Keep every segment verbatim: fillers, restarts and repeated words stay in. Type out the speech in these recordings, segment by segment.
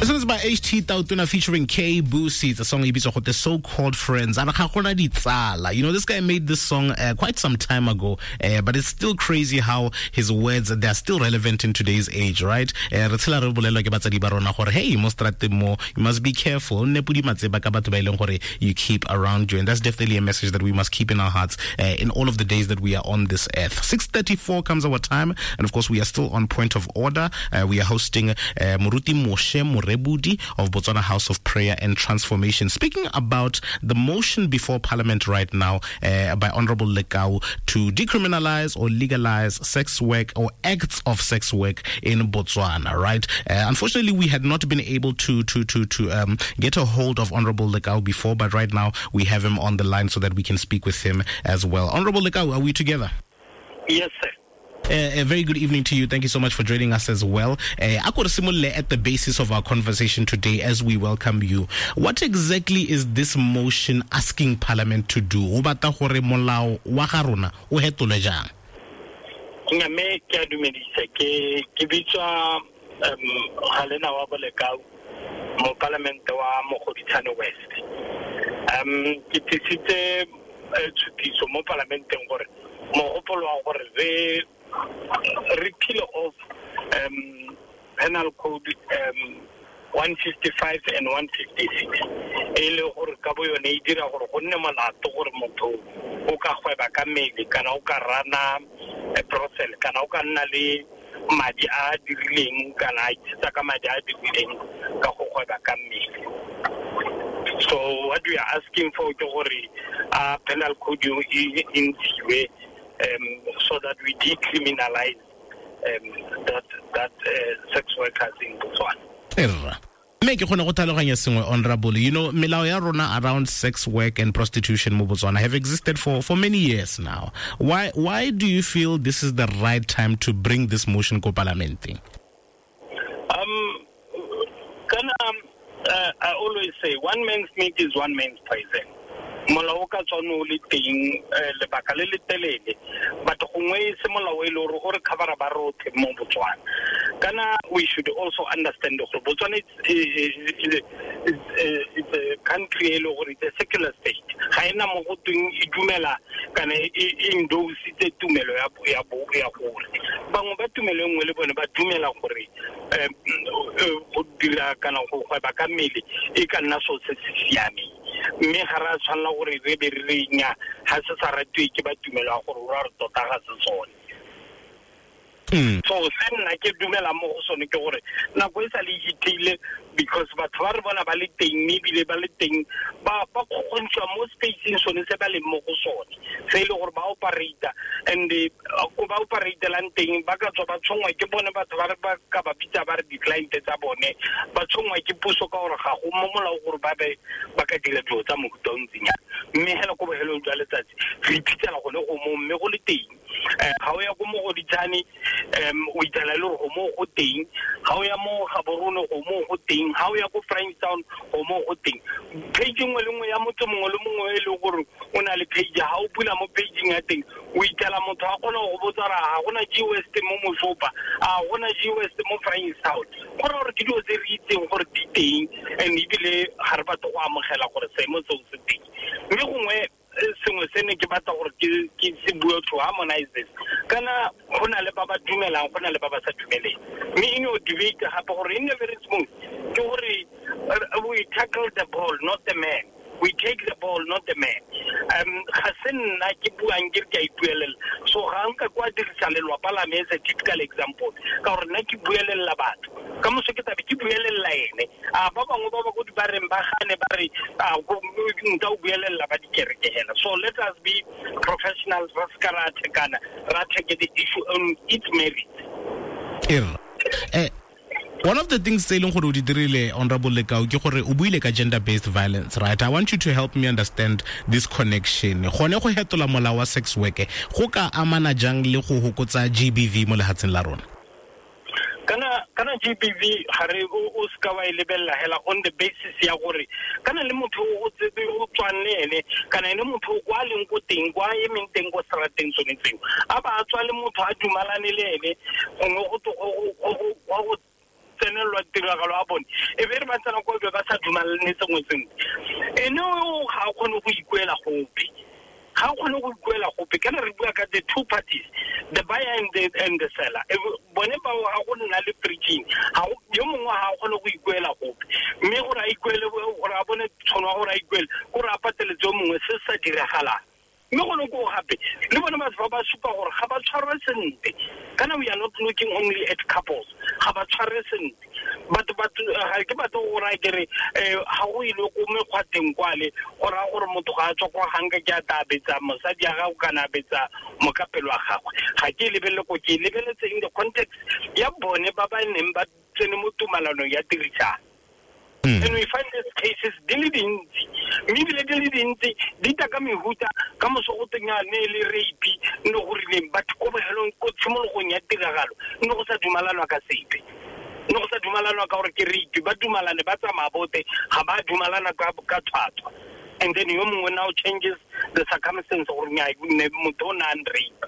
This one is by H T Tautona featuring K Boosie. It's a song the So-Called Friends. You know, this guy made this song uh, quite some time ago, uh, but it's still crazy how his words, they're still relevant in today's age, right? Hey, you must be careful. You keep around you. And that's definitely a message that we must keep in our hearts uh, in all of the days that we are on this earth. six thirty-four comes our time. And of course, we are still on Point of Order. Uh, we are hosting uh, Moruti Moshe Morebudi of Botswana House of Prayer and Transformation, speaking about the motion before Parliament right now uh, by Honorable Lekau to decriminalize or legalize sex work or acts of sex work in Botswana, right? Uh, unfortunately, we had not been able to to to to um, get a hold of Honorable Lekau before, but right now we have him on the line so that we can speak with him as well. Honorable Lekau, are we together? Yes, sir. Uh, a very good evening to you. Thank you so much for joining us as well. Uh, at the basis of our conversation today as we welcome you, what exactly is this motion asking Parliament to do? O batla gore molao wa ga rona o hetolwe jang? Mme ke a dumedisa, ke ke bitswa Galena wa Bolekau mo Parliament wa Mogoditshane West. Um ke tlisitse tshutiso mo Parlamenteng gore mogopolo wa gore re repeal of um, Penal Code um, one fifty-five and one fifty-six. E le gore ka bo yone e dira gore go nne molato gore motho o ka gweba ka mmele kana o ka rana brothel kana o ka nna le madi a dirileng kana a itshetsa ka madi a dirileng ka go gweba ka mmele. So what we are asking for ke gore a penal code e ntshiwe Um, so that we decriminalize um, that that uh, sex workers in Botswana. Erra. Mme ke kgone go tlhaloganya sengwe, Honorable. You know, melao ya rona around sex work and prostitution mo Botswana have existed for, for many years now. Why why do you feel this is the right time to bring this motion ko Parlamenteng? Um, can, um, uh, I always say one man's meat is one man's poison. Molao o ka tswa o le teng lebaka le le telele, but gongwe e se molao e le gore o re covera ba rotlhe mo Botswana. Kana we should also understand gore Botswana is it's a country e le gore it's a secular state. Ga ena mo go tweng e dumela kana e endositse tumelo ya ya ya gore bangwe ba tumelo e nngwe le bone ba dumela gore go dira kana go gweba ka mmele e ka nna selo se se siameng. Mme ga re a tshwanela gore re be re re nya ga se sa ratiwe ke ba tumelo ya gore o ra re tota ga se sone. So se nna ke dumela mo go sone ke gore nako e sa le hitlile because batho ba re bona ba le teng mme ebile ba le teng ba ba kgokgontshiwa mo spaceng sone se ba leng mo go sone se e le gore ba operata and ko ba operatelang teng ba ka tswa ba tshongwa ke bone batho ba re ba ka ba bitsa ba re di-client tsa bone ba tshongwa ke puso ka gore ga go mo molao gore ba be ba ka dira dilo tsa mofuta o ntseng jalo. Mme hela ko bohelong jwa letsatsi re iphitlhela gone go mo mme go le teng. Ga o ya ko Mogoditshane um o itsela le gore go mo go teng, ga o ya mo Gaborone go mo go teng, ga o ya ko Frankstown go mo go teng. Page nngwe le nngwe ya motho mongwe le mongwe e leng gore o na le page, ga o bula mo pageng ya teng o itsela motho a kgona go botsa gore ga gona G West mo Moshopa, a gona G West mo Frankstown. Go raya gore ke dilo tse re itseng gore di teng and ebile ga re batle go amogela gore seemo seo se teng. Mme gongwe sengwe se ne ke batla gore ke ke se bue to harmonize this. Kana go na le ba ba dumelang, go na le ba ba sa dumeleng. Mme in your debate gape gore e nne very smooth ke gore we tackle the ball, not the man. We take the ball, not the man. Um, ga se nna ke buang ke re ke a ipuelela. So ga nka kwa dirisa lelwapa la me as a typical example ka gore nna ke buelela batho ka moso ke tabe ke buelela ene. A ba bangwe ba ba ko dibareng ba gane ba re nka o buelela ba dikereke hela. So let us be professionals, ra se ka ra thekana, ra take the issue on its merit. Eh, one of the things tse e leng gore o di dirile, Honorable Lekau, ke gore o buile ka gender-based violence, right? I want you to help me understand this connection. Gone go hetola molao wa sex work go ka amana jang le go hokotsa G B V mo lehatsheng la rona? Kana kana G B V ga re o ska wa e lebella hela on the basis ya gore kana le motho o tsebe o tswang le ene kana ene motho kwa leng ko teng kwa emeng teng ko strateng tsone tseo a ba tswa le motho a dumalane le ene gongwe go go go tsenelwa direlwa tiragalo a bone e be re ba tsena ko be ba sa dumalane sengwe sengwe ene o ga a kgone go ikuela gope ga o kgone go ikuela gope kana re bua ka the two parties the buyer and the, and the seller bone ba ga go nna le preaching ga yo mongwe ga a kgone go ikuela gope mme gore a ikuele gore a bone tshono ya gore a ikuele gore a pateletse yo mongwe se sa diragalang mme gone ko gape le bone batho ba ba supa gore ga ba tshwarwe sentle kana we are not looking only at couples ga ba tshwarwe sentle batho batho ga ke batho go raya kere ga go ile ko mekgwateng kwale go raya gore motho ga a tswa kwa ganka ke a tabetsa mosadi ya gago kana betsa mokapelo wa gagwe ga ke lebelele ko ke lebeletse in the context ya bone ba ba neng ba tsene mo tumalanong ya tirisano. And we find these cases di le dintsi mme ebile di le dintsi di tla ka mehuta ka moso go teng ne le rape ne go rileng batho ko bohelong ko tshimologong ya tiragalo ne go sa dumalanwa ka sepe ne go sa dumalanwa ka gore ke rape ba dumalane ba tsamaya bote ga ba dumalana ka ka tshwatswa and then yo mongwe now changes the circumstance gore ne motho o ne a rape.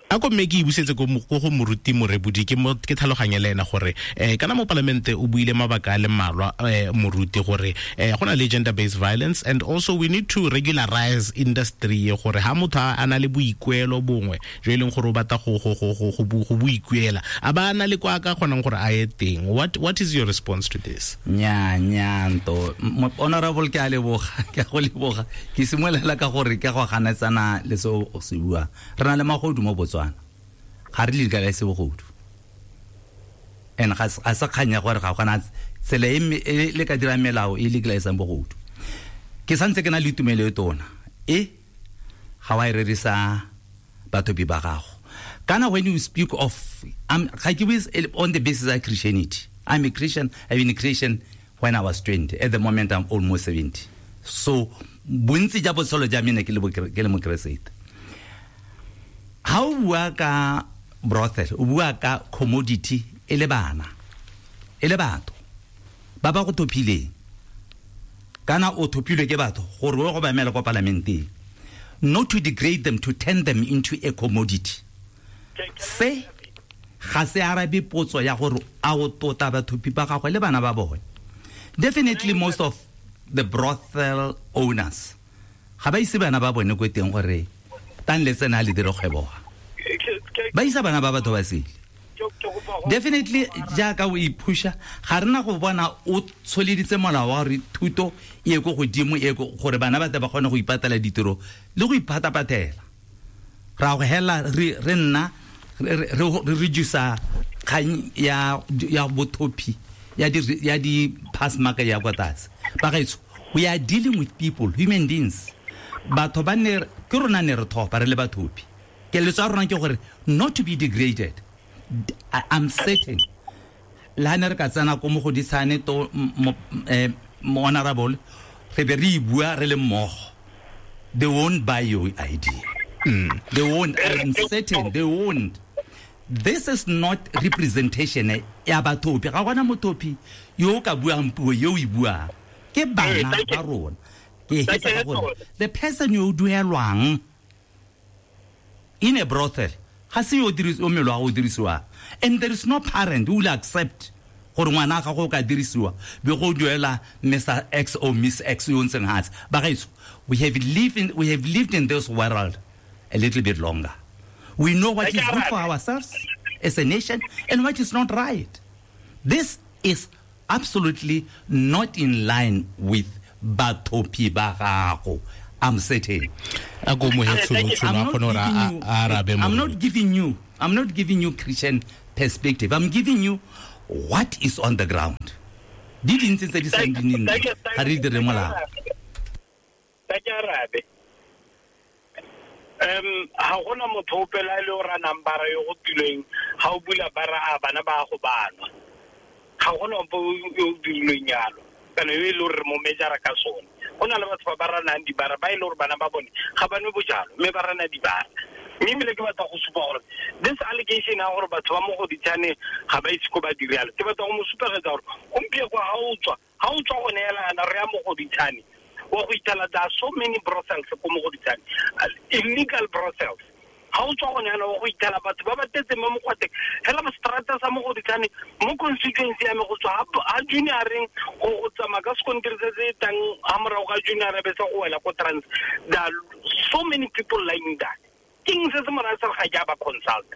A ko mme ke ibusetse ko go moruti Morebodi ke mo ke tlhaloganye le ena gore eh kana mo palamente o buile mabaka a le mmalwa moruti gore eh go na le gender based violence and also we need to regularize industry gore ha motho a na le boikuelo bongwe jo e leng gore o batla go go go go go boikuela a ba na le kwa ka kgonang gore a ye teng. What what is your response to this? Nya nya nto honorable ke a leboga ke a go leboga ke simolola ka gore ke go ganetsana le se o se bua re na le magodu mo Botswana ga re legalize bogodu and ga a sa kganya gore ga gona tsela e le ka dira melao e legalize bogodu ke santse ke na le tumelo e tona e ga wa e rerisa batho bi ba gago kana when you speak of I'm ga ke bue on the basis of Christianity. I'm a Christian. I've been a Christian when I was twenty. At the moment I'm almost seventy. So bontsi ja botshelo ja mene ke le ke le mokeresete. Ha o bua ka brothel o bua ka commodity e le bana e le batho ba ba go thopileng kana o thopilwe ke batho gore o go ba emela kwa parlamenteng not to degrade them, to turn them into a commodity. Se ga se arabe potso ya gore a o tota bathopi ba gagwe le bana ba bone. Definitely most of the brothel owners ga ba ise bana ba bone ko teng gore tan le tsena le dire kgwebo ba isa bana ba batho ba sele. Definitely jaaka o iphusha ga rena go bona o tsholeditse molao wa gore thuto e ye ko godimo e gore bana ba tle ba kgone go ipatela ditiro le go iphatapatela ra go hela re re nna re reduce kgang ya ya bothopi ya di ya di pass mark ya kwa tlase. Ba gaetso we are dealing with people, human beings. Batho ba ne ke rona ne re thopa re le bathopi keletso ya rona ke gore not to be degraded. I'm certain la ne re ka tsena ko mogodisane to honorable re be re bua re le mmogo they won't buy your idea. Mm. They won't. I'm certain they won't. This is not representation ya bathopi ga gona mothopi yo ka buang puo yo o e buang ke bana ba rona ke hetsa gore the person yo duelwang in a brothel ga se yo dirisiwa o mmele wa go dirisiwa and there is no parent who will accept gore ngwana ga go ka dirisiwa be go duela Mister X or Miss X yo ntseng hatse ba gaetso we have lived in we have lived in this world a little bit longer. We know what is good for ourselves as a nation and what is not right. This is absolutely not in line with bathopi ba gago. I'm certain. I'm not giving you I'm not giving you Christian perspective. I'm giving you what is on the ground. Di dintsi tse di seng di nne ga re dire molao. Um ha gona motho opela ile o ra nambara yo go tilweng ha o bula bara a bana ba go banwa ga gona ope yo dilweng yalo kana yo ile re mo mejara ka sone go na le batho ba ba ranang dibara ba ile gore bana ba bone ga ba nwe bojalo mme ba rana dibara mme ebile ke batla go supa gore this allegation ya gore batho ba mo Goditshane ga ba itse ko ba dirialo ke batla go mo supegetsa gore gompieno ga o tswa ga o tswa go neelana re ya mo Goditshane wa go ithala there are so many brothels ko mo Goditshane, illegal brothels. Ga o tswa gone yana wa go ithela batho ba ba tetse mo mokgwateng fela ba strata sa Mogoditshane mo constituency ya me go tswa ha junioreng go go tsamaya ka sekontiri se se tang ha morago ga junior be sa go wela ko trans. There are so many people lying there. King se se mo raya sa ga ke a ba consult.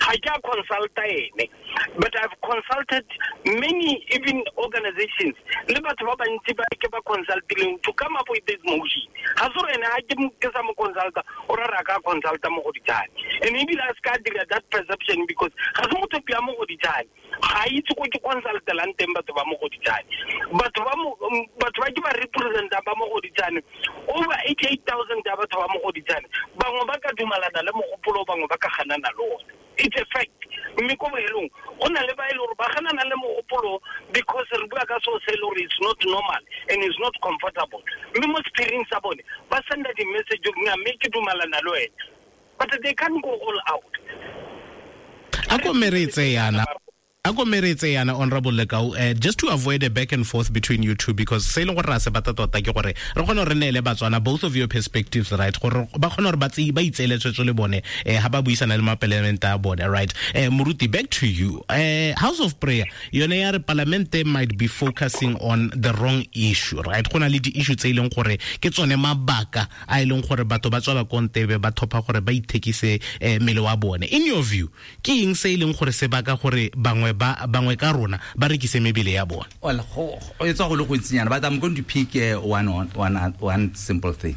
Ga ke a consulta ene, but I've consulted many even organizations le batho ba bantsi ba ke ba consultileng to come up with this motion. Ga se gore ene ga ke ke sa mo consulta o ra re a ka consulta Mogoditshane, and ebile a se ka dira that perception because ga se motho ya Mogoditshane, ga itse ko ke consultelang teng batho ba Mogoditshane. Batho ba batho ba ke ba representa ba Mogoditshane, over eighty-eight thousand ya batho ba Mogoditshane, bangwe ba ka dumalana le mogopolo, bangwe ba ka ganana le one. It's a fact. Mme ko bohelong go na le ba e le gore ba ganana le mogopolo because re bua ka seo se e le gore it's not normal and it's not comfortable. Mme mo sephiring sa bone ba senda di-message mme ke dumalana le wena, but they can't go all out. A ko meretse yana. A ko meretse yana, Honorable Lekau, uh, just to avoid a back and forth between you two, because se e leng gore ra se batla tota ke gore re kgone gore re neele Batswana both of your perspectives, right? Gore ba kgone gore ba ba itseele tshwetso le bone eh ha ba buisana le mapalamente a bone, right? Eh Moruti, back to you. Eh House of Prayer yone ya re palamente might be focusing on the wrong issue, right? Go na le di-issue tse e leng gore ke tsone mabaka a e leng gore batho ba tswa ba kontebe ba thopha gore ba ithekise eh, mmele wa bone. In your view, ke eng se e leng gore se baka gore bangwe ba bangwe ka rona ba rekise mebele ya bone? Well, go e tswa go le go ntsinyana, but I'm going to pick uh, one, one, one simple thing.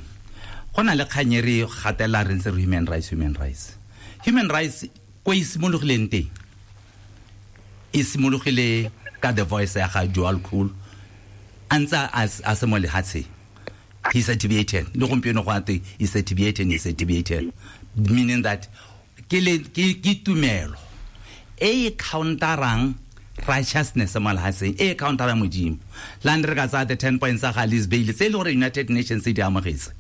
Go na le kgang e re gatela re ntse re human rights, human rights. Human rights ko e simologileng teng, e simologile ka the voice ya ga Djwhal Khul a ntse a se mo lehatsheng. He's a Tibetan. Le gompieno go ate he's a Tibetan, he's a Tibetan, meaning that ke le ke ke tumelo e counterang righteousness mo lehatsheng, e counterang Modimo. La re ka tsaya the ten points tsa ga Alice Bailey tse e le gore United Nations di amogetse,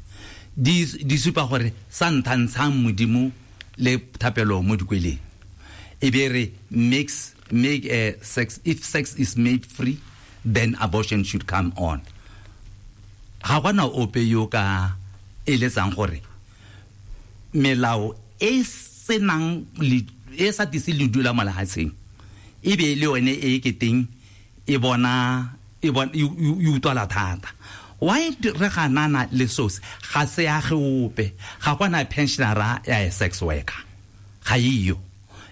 di di supa gore sa nthantshang Modimo le thapelo mo dikweleng, e be re makes make uh, sex, if sex is made free, then abortion should come on. Ga gona ope yo ka eletsang gore melao e senang e sa tise ledu la mo lehatsheng e be le yone e ke teng e bona e bona e utlwala thata. Why re ganana le sose? Ga se ya ge ope, ga gona pensionera ya sex worker, ga iyo.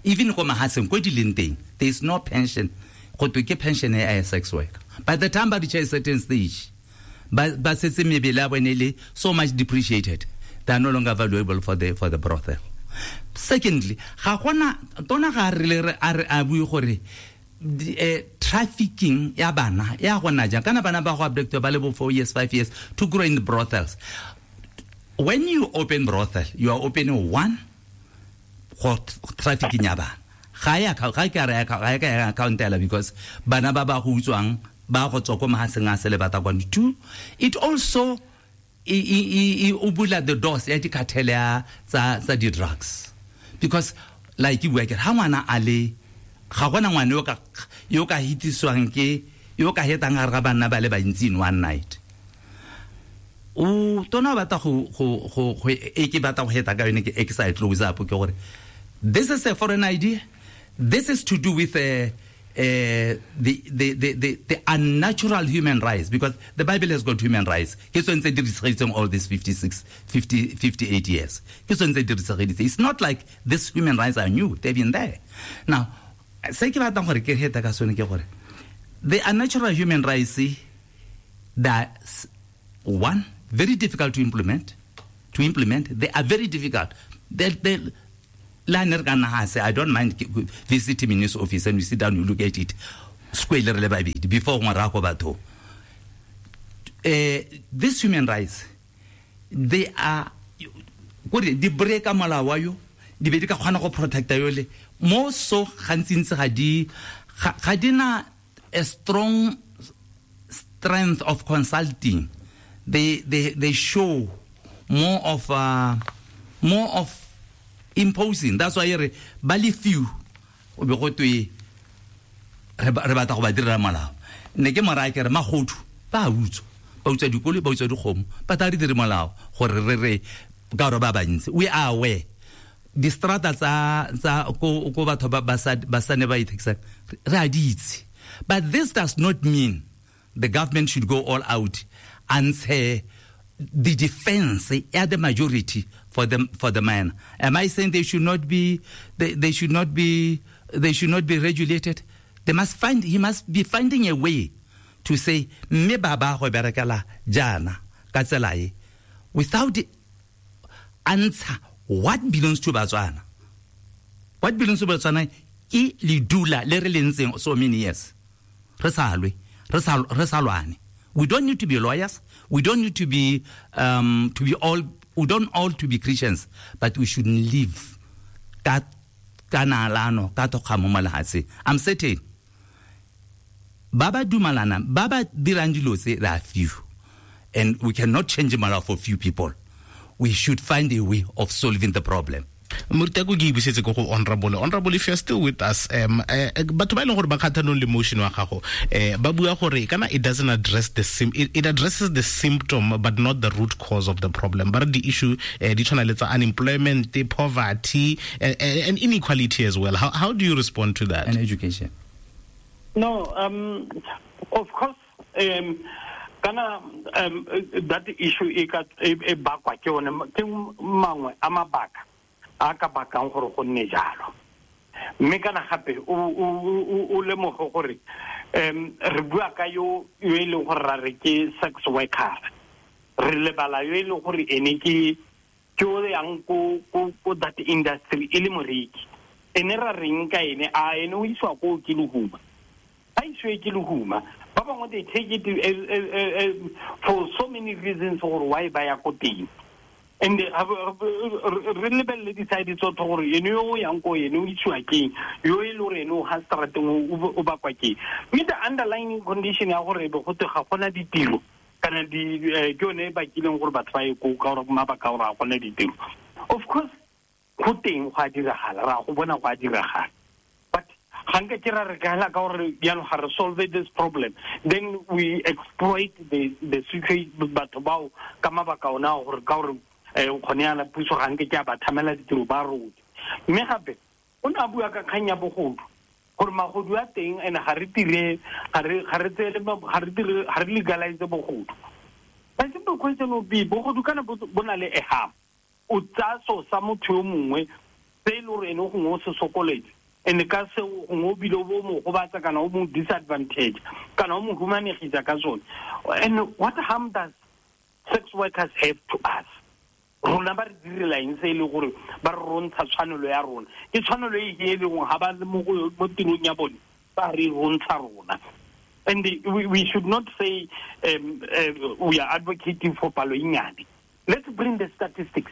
Even ko mahatsheng ko di leng teng, there is no pension. Go twe ke pension ya sex worker. By the time ba reach a certain stage, ba ba setse mebele ya bone le so much depreciated, they are no longer valuable for the for the brothel. Secondly, ga gona tona ga re le a re a bue gore eh, trafficking ya bana ya gona jang, kana bana ba go abducted ba le bo four years, five years to grow in the brothels. When you open brothel, you are opening one go trafficking ya bana. Ga ya ga ka re ga ka ya accountela because bana ba ba go utswang ba go tswa ko mahatsheng a se le bata kwano. Two, it also e e e o bula the doors ya di-cartel ya tsa tsa di-drugs, because like you work ha ngwana a le ga gona ngwana yo ka yo ka hitiswang ke yo ka hetang gare ga banna ba le bantsi in one night. O tona batla go go go e ke batla go heta ka yone ke e ke sa e close up ke gore this is a foreign idea. This is to do with a Uh, the, the, the, the, the unnatural human rights, because the Bible has got human rights. Ke tsone tse di re all these fifty-six, fifty, fifty-eight years. Ke tsone tse di re. It's not like these human rights are new. They've been there. Now, se ke batlang gore ke heta ka sone ke gore the unnatural human rights, that one, very difficult to implement. To implement, they are very difficult. They, they, I don't mind visiting him in his office and we sit down, we look at it. Before uh, these human rights, they are di break molao wa yo, di be di ka kgona go protecta yole mo so gantsintsi ga di ga di na a strong strength of consulting. They they they show more of uh, more of imposing. That's why re ba le few o be go twe re batla go ba direla molao. Ne ke moraya ke re magodu ba utswa, ba utswa dikoloi, ba utswa dikgomo, ba tla re dire molao gore re re ka gore ba bantsi. We are aware Di strata tsa tsa ko ko batho ba ba sa ba sa ne ba ithekisang re a di itse. But this does not mean the government should go all out and say the defense ya the majority for the for the man. Am I saying they should not be they, they should not be they should not be regulated? They must find he must be finding a way to say mme ba ba go berekela jaana ka tsela e without answer what belongs to Botswana. What belongs to Botswana ke ledula le re le ntseng so many years. Re sa lwe, re sa re sa lwane. We don't need to be lawyers. We don't need to be um, to be all we don't all to be Christians, but we should live ka ka nalano ka tokgamo mo lefatsheng. I'm certain ba ba dumalana ba ba dirang dilo tse they are few, and we cannot change molao for few people. We should find a way of solving the problem. Moruti, ke ibusetse ko go honorable. Honorable, if you're still with us, um eh, batho ba e leng gore ba kgathanong le motion wa gago, eh ba bua gore kana it doesn't address the sim it, it addresses the symptom but not the root cause of the problem. But the issue eh di tshwana le tsa unemployment, poverty and, and inequality as well. How how do you respond to that? And education. No, um of course um kana um that issue e ka e bakwa ke one ke mangwe a mabaka a ka bakang gore go nne jalo. Mme kana gape o o lemoge gore um re bua ka yo yo e leng gore ra re ke sex worker, re lebala yo e leng gore ene ke ke o yang ko ko ko that industry e le moreki. Ene ra reng ka ene a ene o iswa ko ke lehuma, a iswe ke lehuma. Ba bangwe they take it for so many reasons gore why ba ya ko teng. And re lebelele di-side tsotlhe gore ene yo o yang ko ene o isiwa keng, yo e le gore ene o ga strateng o bakwa keng. Mme the underlying condition ya gore be gote ga gona ditiro kana di ke yone e bakileng gore batho ba ye ko ka gore mabaka gore ga gona ditiro. Of course go teng go a diragala, ra go bona go a diragala, but ga nka ke ra re ka ka gore jaanong ga re solve this problem, then we exploit the the situation batho bao ka mabaka ona gore ka gore eh o khone yana puso ga nke ke a ba thamela ditiro ba rona. Mme gape o ne a bua ka kgang ya bogodu gore magodu a teng and ga re dire ga re ga re tsele ga re dire ga re legalize bogodu. My simple question will be bogodu kana bo na le eham o tsaya so sa motho yo mongwe se e le gore ene o gongwe o se sokoletse and ka se gongwe o bile o mo gobatsa kana o mo disadvantage kana o mo humanegisa ka sone. And what harm does sex workers have to us? Rona ba re direla eng se e le gore ba re rontsha tshwanelo ya rona? Ke tshwanelo e e leng ga ba le mo mo tirong ya bone ba re rontsha rona. And we, we should not say um, uh, we are advocating for palo e nnyane. Let's bring the statistics.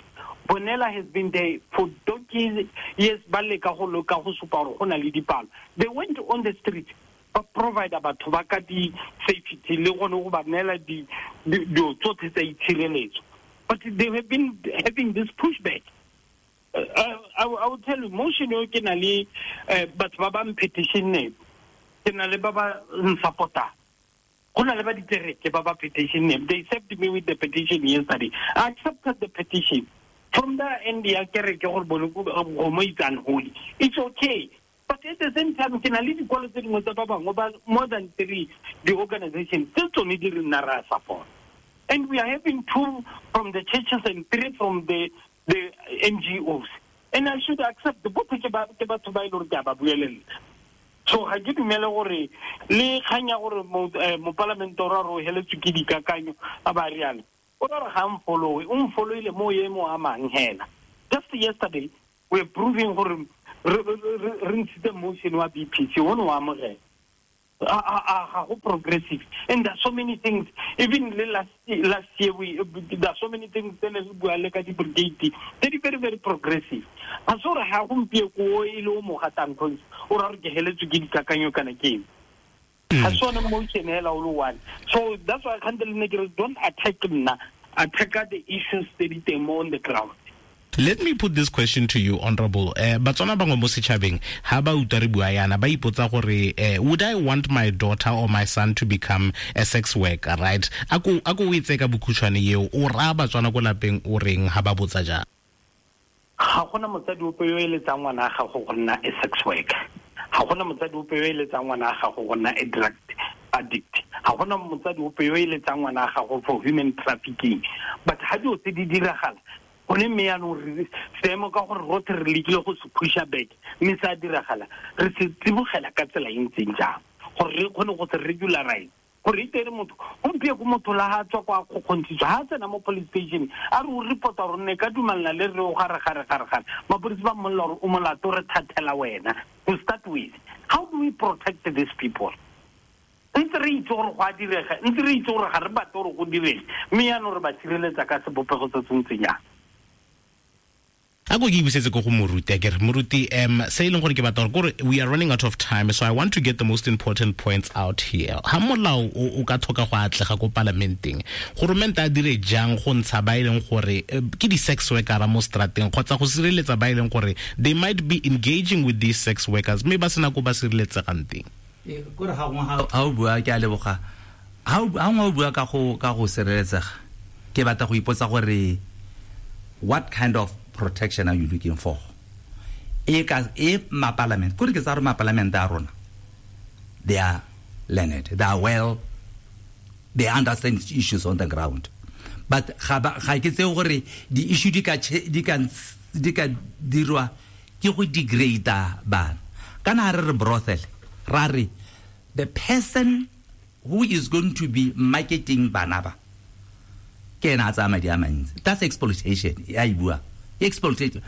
Bonella has been there for donkeys years, ba leka go loka go supa gore go na le dipalo. They went on the street ba provide batho ba ka di-safety le gone go ba neela dilo tsotlhe tsa itshireletso. But they have been having this pushback. Uh, I, I will tell you, motion yo ke na le batho ba ba petition ke na le ba ba nsupporta. Go na le ba ditereke ba ba petition. They served me with the petition yesterday. I accepted the petition. From the end ya kereke gore bone go mo itsang holy. It's okay. But at the same time, ke na le dikwalo tse dingwe tsa ba bangwe ba more than three the organization tse tsone di re nna ra support. And we are having two from the churches and three from the, the N G Os. And I should accept the both ke ba ke batho ba ile gore ke a ba buelela. So ga ke dumele gore le kgang ya gore mopalamente o ra re o heletswe ke dikakanyo a ba rialo. O ra re ga mfollowe, o mfolloile mo e mo amang hela. Just yesterday we are proving gore re ntshitse motion wa B P C o ne wa amogela. A go progressive, and there are so many things. Even last last year, we there are so many things tse ne re bua le ka di-brigade tse di very very progressive. A so re ha gompieno ko e le o mo gatang cause o ra re ke heletswe ke dikakanyo kana ke eng. Ga se one motion hela o le one. So that's why kgante le ne ke re don't attack nna, attack the issues tse di teng mo on the ground. Let me put this question to you, Honorable. Eh, Batswana bangwe mo setšhabeng ha ba utlwa re bua yana ba ipotsa gore eh, would I want my daughter or my son to become a sex worker, right? Ako ako o itse ka bokhutshwane eo o raya Batswana ko lapeng o reng ha ba botsa jang? Ga gona motsadi ope yo eletsang ngwana a gago go nna a sex worker. Ga gona motsadi ope yo eletsang ngwana a gago go nna a drug addict. Ga gona motsadi ope yo eletsang ngwana a gago for human trafficking. But ha dilo tse di diragala, gone mme yaanong re seemo ka gore rotlhe re lekile go se pusha back, mme se a diragala, re se tsibogela ka tsela e ntseng jang gore re kgone go se regularize. Gore e tere motho gompieko motho la ha tswa kwa kgokgontshitswe, ha tsena mo police station a re o reporta gore ne ka dumelana le re o gare gare gare gare, mapodisi ba mmolelela gore o molato, re thathela wena. To start with, how do we protect these people? Ntse re itse gore go a direga, ntse re itse gore ga re batle gore go direge, mme yaanong re ba sireletsa ka sebopego se se ntseng jang? A ko ke ibusetse ko go moruti, akere moruti, um se e leng gore ke batla gore we are running out of time, so I want to get the most important points out here. Ha molao o ka thoka go atlega ko parlamenteng, goromente a dire jang go ntsha ba e leng gore ke di-sex worker mo strateng, kgotsa go sireletsa ba e leng gore they might be engaging with these sex workers mme ba sena ko ba sireletsegang teng? Kore ga gongwe ha o bua, ke a leboga, ha gongwe o bua ka go ka go sireletsega, ke batla go ipotsa gore what kind of protection are you looking for? E ka e ma parliament, kore ke tsa re ma parliament a rona, they are learned, they are well, they understand issues on the ground. But ga ga ke tse gore di issue di ka di ka di ka dirwa ke go degrade bana. Kana re re brothel, ra re the person who is going to be marketing bana ba ke ena a tsaya madi a mantsi. That's exploitation. Ya e bua exploitation.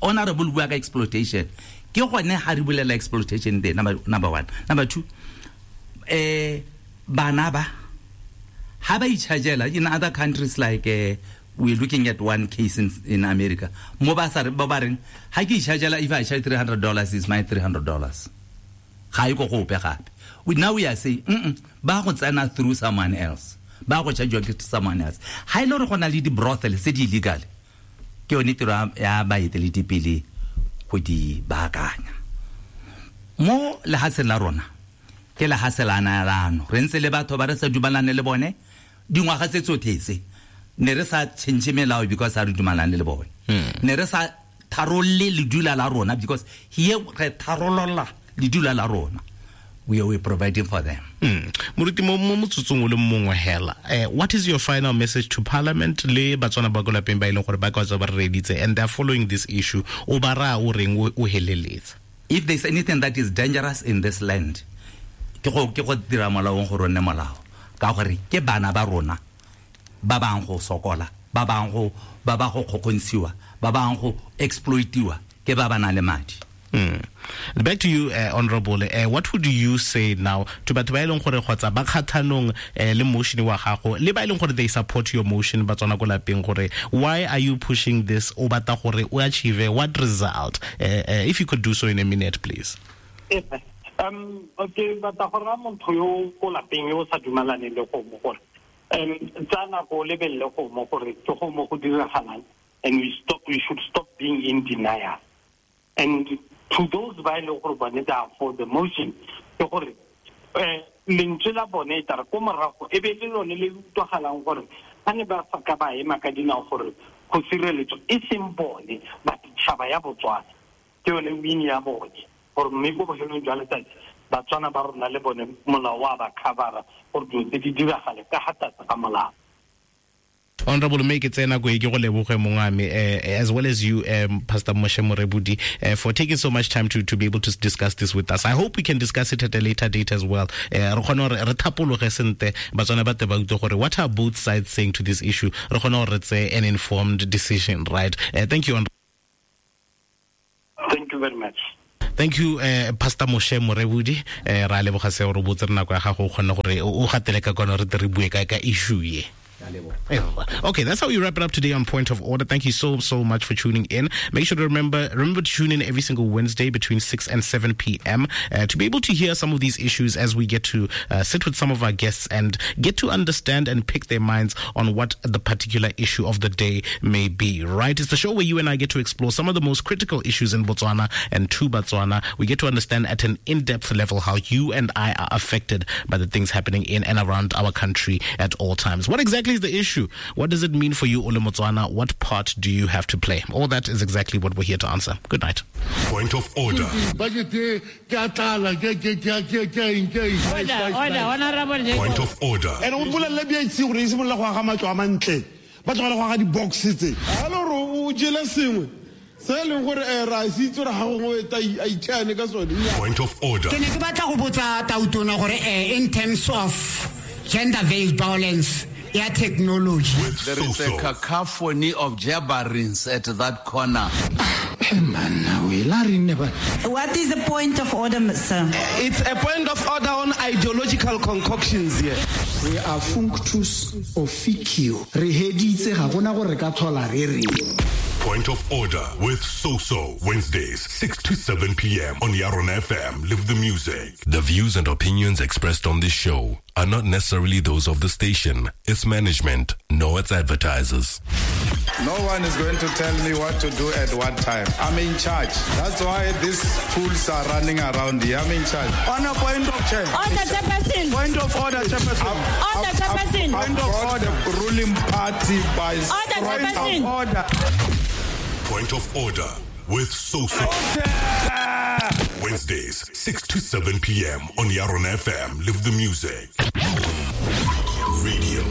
Honorable bua ka exploitation. Ke gone ha re bulela exploitation there, number number one. Number two, eh bana ba ha ba itshajela in other countries like uh, we're looking at one case in, in America. Mo ba sa ba ba reng ha ke itshajela, if I charge three hundred dollars, is my three hundred dollars. Ga e go gope gape. We now we are saying mm ba go tsena through someone else. Ba go charge to someone else. Ha ile re gona le di brothel tse di illegal. Ke yone tiro ya baeteledipele go di baakanya. Mo lehatsheng la rona ke lehatshe la naelano, re ntse le batho ba re sa dumalane le bone dingwaga tse tsotlhe tse, ne re sa change melao because ha re dumalane le bone, ne re sa tharolle ledula la rona because here re tharolola ledula la rona. We are providing for them. Mm. Moruti, mo motsotsong o le mongwe hela, eh, what is your final message to parliament le Batswana ba ko lapeng ba e leng gore ba ka tswa ba re reditse and they are following this issue, o ba raya o reng o heleletse? If there's anything that is dangerous in this land, ke go ke go dira molaong gore o nne molao, ka gore ke bana ba rona ba bang go sokola, ba bang go ba ba go kgokgontshiwa, ba bang go exploitiwa ke ba ba nang le madi. Mm. Back to you, uh, Honorable. Uh, what would you say now to batho ba e leng gore kgotsa ba kgathanong le motion wa gago, le ba e leng gore they support your motion, ba tswana ko lapeng gore why are you pushing this, o batla gore o achieve what result? Uh, uh, if you could do so in a minute, please. Um, okay, batla gore motho yo ko lapeng yo sa dumalane le go mo gore um tsa nako lebelle go mo gore ke go mo go diragalang, and we stop we should stop being in denial. And to those ba e leng gore bone they are for the motion, ke gore eh lentswe la bone e tare ko morago e be le lone le utlwagalang gore ba ne ba sa ka ba ema ka dinao gore go sireletswa e seng bone but tšhaba ya Botswana, ke yone win ya bone gore mme ko bofelong jwa letsatsi Batswana ba rona le bone molao wa ba covera gore dilo tse di diragale ka ga tlase ga molao. Honorable, make it tsena go ke go leboge mongame, as well as you, um, Pastor Moshe Morebudi, uh, for taking so much time to to be able to discuss this with us. I hope we can discuss it at a later date as well. Re kgone gore re thapologe sente Batswana ba te ba utlwe gore what are both sides saying to this issue, re kgone gore re tseye an informed decision, right? Uh, thank you. Thank you very much. Thank you, uh, Pastor Moshe Morebudi. Uh, ra leboga se gore o botse re nako ya gago o kgone gore o gatele ka kwana re tle re bue ka ka issue ye. Okay, that's how we wrap it up today on Point of Order. Thank you so, so much for tuning in. Make sure to remember remember to tune in every single Wednesday between six and seven p.m. Uh, to be able to hear some of these issues as we get to uh, sit with some of our guests and get to understand and pick their minds on what the particular issue of the day may be, right? It's the show where you and I get to explore some of the most critical issues in Botswana and to Botswana. We get to understand at an in-depth level how you and I are affected by the things happening in and around our country at all times. What exactly is the issue? What does it mean for you, Ole Motswana? What part do you have to play? All that is exactly what we're here to answer. Good night. Point of order. Order, order, honorable. Point of order. And o bolelle B I C gore e simolola go aga matlo a mantle. Ba tlogela go aga di-box tse. A le gore o jele sengwe se e leng gore ra se itse gore ga gongwe a itšhane ka sone. Point of order. Ke ne ke batla go botsa Tautona gore in terms of gender-based violence ya technology. There is a cacophony of jabberings at that corner. What is the point of order, sir? It's a point of order on ideological concoctions here. We are functus officio. Re heditse ga gona gore ka thola re re. Point of Order with Soso, Wednesdays, six to seven p.m. on Yaron F M. Live the music. The views and opinions expressed on this show are not necessarily those of the station, its management, nor its advertisers. No one is going to tell me what to do at what time. I'm in charge. That's why these fools are running around here. I'm in charge. On a point of chair. Order, Chairperson. Point of order, Chairperson. Order, Chairperson. Point of order. Ruling party by Order, Chairperson. Order. Point of Order with Soso. Wednesdays, six to seven p.m. on Yaron F M. Live the music. Radio.